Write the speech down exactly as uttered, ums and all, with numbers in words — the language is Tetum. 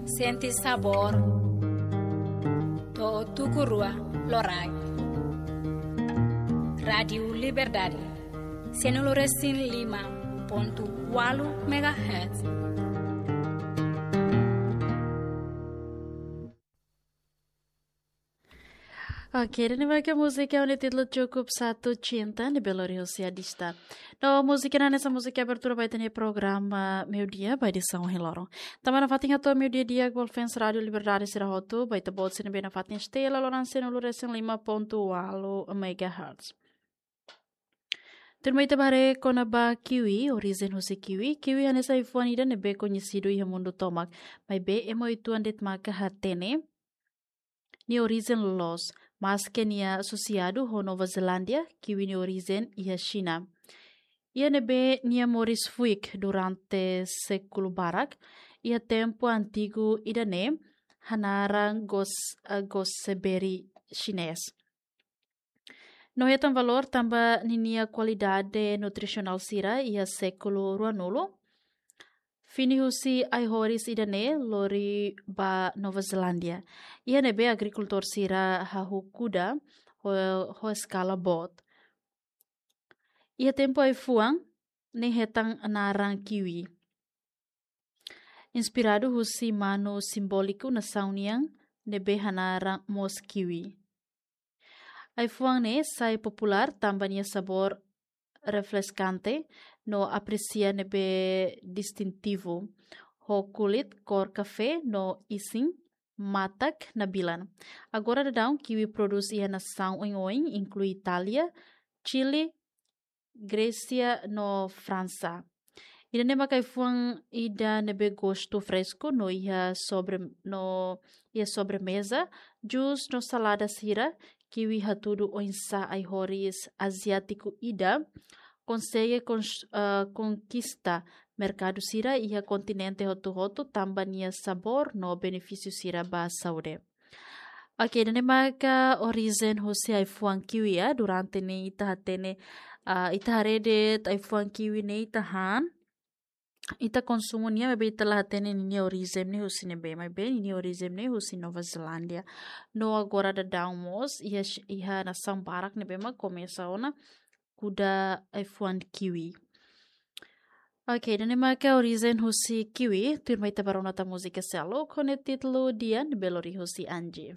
Sente sabór. To'o tuku rua loraik. Rádiu Liberdade. Sianulu resin lima pontu ualu megahertz. Oke, ida-ne'e mak múzika ho títulu Cukup Satu Cinta, ne'ebé lori husi Adista. No múzika ne'e hanesan múzika abertura ba ita-nia programa Meiudia, ba edisaun ohin loron. Tanba nafatin hato'o meiudia di'ak ba fans Rádiu Liberdade sira hotu, ba ita-boot sira ne'ebé nafatin setia iha loron sianulu resin lima pontu ualu megahertz. Tuirmai ita bá haree kona-ba kiwi, orijen husi kiwi. Kiwi hanesan ai-fuan ida ne'ebé koñesidu iha mundu tomak. Maibé ema uitoan de'it maka hatene nia orijen loloos, maske nia asosiadu ho Nova Zelándia, kiwi nia orijen iha Xina. Iha ne'ebé nia moris fuik durante sékulu barak, iha tempu antigu ida-ne'e hanaran gos-, eh, gooseberry xinés. No hetan valór tanba ninia kualidade nutrisionál sira iha sékulu ruanulu. Fini husi ai-horis ida-ne'e lori ba Nova Zelándia. Iha ne'ebé agrikultór sira hahú kuda ho, ho eskala boot. Iha tempu ai-fuan ne'e hetan naran kiwi. Inspiradu husi manu simbóliku nasaun nian ne'ebé hanaran mos kiwi. Ai-fuan ne'e sai populár tanba nia sabór refreskante no apresia ne'ebé distintivu, ho kulit kór kafé no isin matak nabilan. Agora daudaun kiwi prodús iha nasaun oioin, inklui Itália, Chile, Grésia no Fransa. Ida-ne'e maka ai-fuan ida ne'ebé gostu fresku no iha sobre-, no iha sobremeza, jus no salada sira, kiwi hatudu oinsá ai-horis aziátiku ida konsege kons-, eh, konkista merkadu sira iha kontinente hotu-hotu tanba nia sabór no benefísiu sira ba saúde. Oke, ida-ne'e maka orijen husi ai-fuan kiwi, ya. Durante ne'e ita hatene, ah, ita haree de'it ai-fuan kiwi ne'e ita han, ita konsumu nia, maibé ita la hatene ninia orijen ne'e husi ne'ebé, maibé ninia orijen ne'e husi Nova Zelándia. No agora daudaun mós, iha, iha nasaun barak ne'ebé mak komesa ona kuda ai-fuan kiwi. Oke, ida-ne'e maka orijen husi kiwi, tuirmai ita bá rona tan múzika seluk ho títulu Di'ak, ne'ebé lori husi Anji.